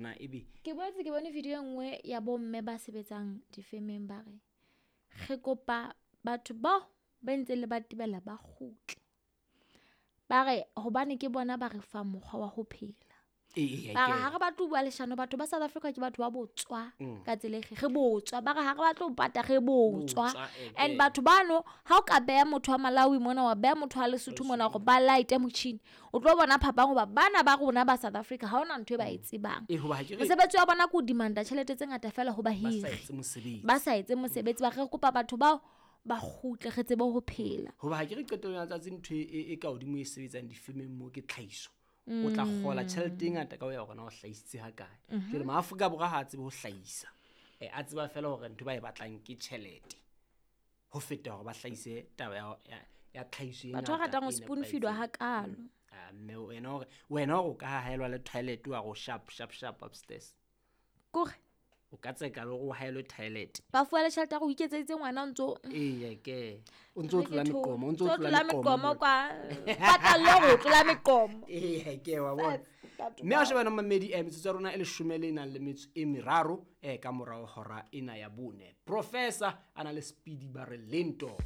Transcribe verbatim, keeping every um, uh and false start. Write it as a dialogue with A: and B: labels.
A: na ebe
B: Ke boetse ke bone video e nngwe ya bomme ba sebetsang difemeng ba re re kopa batho bao ba ntse le ba tebela ba kgutle. Ba re hobane ke bona ba re fang mokgwa wa ho phela.
A: Ee,
B: Ba re ha re batle ho bua leshano, batho ba South Africa ke batho ba botswa ka tsela e re botswa. Ba re ha re batle ho pata re botswa.
A: Botswa, eh,
B: And
A: eh.
B: batho bano ha o ka beha motho wa Malawi mona, wa beha motho wa Lesotho mona hore ba light-e motjhini, o tlo bona phapang hoba bana ba rona ba South Africa ha hona ntho e ba e tsebang.
A: Ee, hoba ha ke re
B: Mosebetsi wa bona ke ho demand-a tjhelete tse ngata fela ho
A: ba sa
B: bahiri.
A: etse mosebetsi.
B: Ba sa etse mosebetsi, ba re re kopa batho bao ba kgutle re tsebe ho phela.
A: Hoba ha ke re qetellong ya letsatsi ntho e, e ka hodimo e sebetsang difemeng moo ke tlhahiso. O tla kgola tjhelete e ngata ka ho ya hore na o hlahisitse ha kae. Jwale Maafrika Borwa ha a tsebe ho hlahisa. Eh, a tseba feela hore ntho ba e batlang ke tjhelete. Ho feta hore ba hlahise taba ya, ya, ya tlhahiso e
B: Batho ba
A: ngata
B: ratang ho
A: e
B: spoon feed-wa
A: nepahetseng.
B: hakalo.
A: Ah, mme wena hore, wena hore o ka haelwa le toilet wa re o sharp, sharp, sharp upstairs.
B: Kore
A: O ka tseka le hore o haelwe toilet.
B: ba fuwa le tjhelete ya hore o iketseditse ngwana o ntso
A: Eya ke. O ntso o
B: Re ke
A: tlola
B: tho-
A: meqomo, o ntso o
B: ntso o
A: tlola
B: tlola
A: meqomo
B: meqomo
A: mona.
B: kwa. Patalle hore o tlola meqomo.
A: Eya ke wa bona.
B: Batho
A: Mme ha o shebana mamedi, eh, metsotso ya rona e leshome le nang le metso e meraro, eh, ka morao hora ena ya bone. Professor a na le Speedy ba re lento.